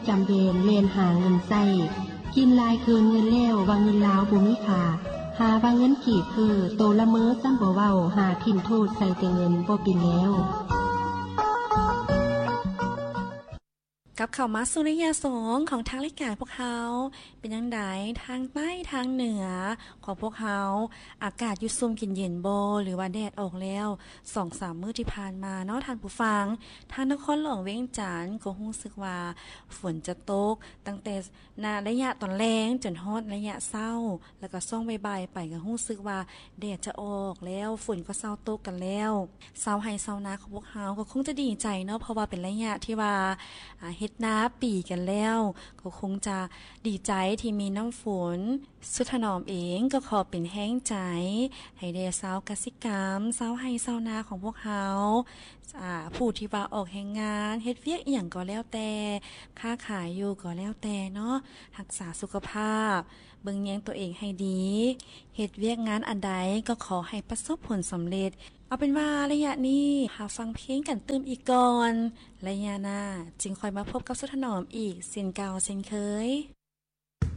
ຈຳແບນແລ່ນຫາເງິນໃຊ້ ກິນຫຼາຍເກີນເງິນແລ້ວ ວ່າເງິນລາວບໍ່ມີຄ່າ ຫາວ່າເງິນກີບເຟີ້ ໂຕລະເມີຊ້ຳບໍ່ເວົ້າ ຫາຖິ້ມໂທດໃສ່ແຕ່ເງິນບໍ່ເປັນແລ້ວ. ກັບເຂົ້າມາສູ່ໄລຍະສອງຂອງທາງລາຍການພວກເຮົາ ເປັນຈັ່ງໃດທາງໃຕ້ທາງເໜືອຂອງພວກເຮົາ ອາກາດຢູ່ຊຸ່ມກິນເຢັນບໍ່ ຫຼືວ່າແດດອອກແລ້ວ? ສອງສາມມື້ທີ່ຜ່ານມາເນາະທ່ານຜູ້ຟັງ ທາງນະຄອນຫຼວງວຽງຈັນກໍຮູ້ສຶກວ່າຝົນຈະຕົກ ຕັ້ງແຕ່ ນະໄລຍະຕອນແລງຈົນຮອດໄລຍະເຊົ້າ ແລ້ວກໍຊ່ວງບ່າຍໆໄປກໍຮູ້ສຶກວ່າແດດຈະອອກແລ້ວ ຝົນກໍເຊົາຕົກກັນແລ້ວ ຊາວໄຮ່ຊາວນາຂອງພວກເຮົາກໍຄົງຈະດີໃຈເນາະ ເພາະວ່າເປັນໄລຍະທີ່ວ່າ ອາ ເຮັດນາປີກັນແລ້ວ ກໍຄົງຈະດີໃຈທີ່ມີນ້ຳຝົນ. ສຸດຖະໜອມເອງກໍຂໍເປັນແຮງໃຈໃຫ້ແດ່ຊາວກະສິກຳ ຊາວໄຮ່ຊາວນາຂອງພວກເຮົາ ອາ ຜູ້ທີ່ວ່າອອກແຮງງານ ເຮັດວຽກອີ່ຫຍັງກໍແລ້ວແຕ່ ຄ້າຂາຍຢູ່ກໍແລ້ວແຕ່ເນາະ ຮັກສາສຸຂະພາບ ເບິ່ງແຍງຕົວເອງໃຫ້ດີ ເຮັດວຽກງານອັນໃດກໍຂໍໃຫ້ປະສົບຜົນສຳເລັດ. ເອົາເປັນວ່າໄລຍະນີ້ ຫາຟັງເພງກັນຕື່ມອີກກ່ອນ ໄລຍະໜ້າຈຶ່ງຄ່ອຍມາພົບກັບສຸດຖະໜອມອີກເຊັ່ນເກົ່າເຊັ່ນເຄີຍ.